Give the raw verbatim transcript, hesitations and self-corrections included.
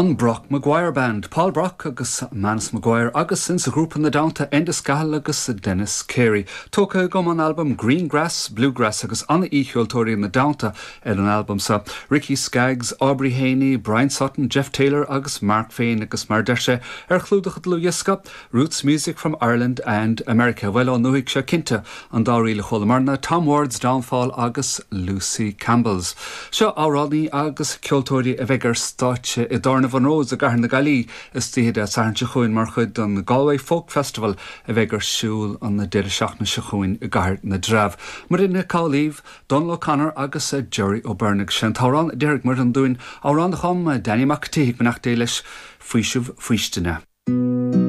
An Brock Maguire Band, Paul Brock agus Manus Maguire agus insa ghrúpa ina dteannta Enda Scahill agus Dennis Carey. Tógtha agam ón albam Greengrass, Bluegrass agus an-cheoltóirí ina dteannta ar an albam seo. Ricky Skaggs, Aubrey Haynie, Bryan Sutton, Jeff Taylor agus Mark féin agus mar deir sé ar chlúdach an dlúthdhiosca, Roots Music from Ireland and America. Well ón ndúthaigh seo cinnte an dá ríl a chualamarna, Tom Ward's Downfall agus Lucy Campbell's. Seo amhránaí agus ceoltóirí a bheidh ar stáitse i dTábhairne Mhonroe's i gCathair na Gaillimhe istoíche Dé Sathairn seo chugainn mar chuid den Galway Folk Festival a bheidh ar siúl an deireadh seachtaine seo chugainn i gCathair na dTreabh. Muirín Cáilíh, Donal O'Connor agus Jerry O'Byrne sin t-amhrán deiridh mar an dúin amhrán a chum Danny Mac Tíigh beannacht Dé leis faoiseamh faoistine.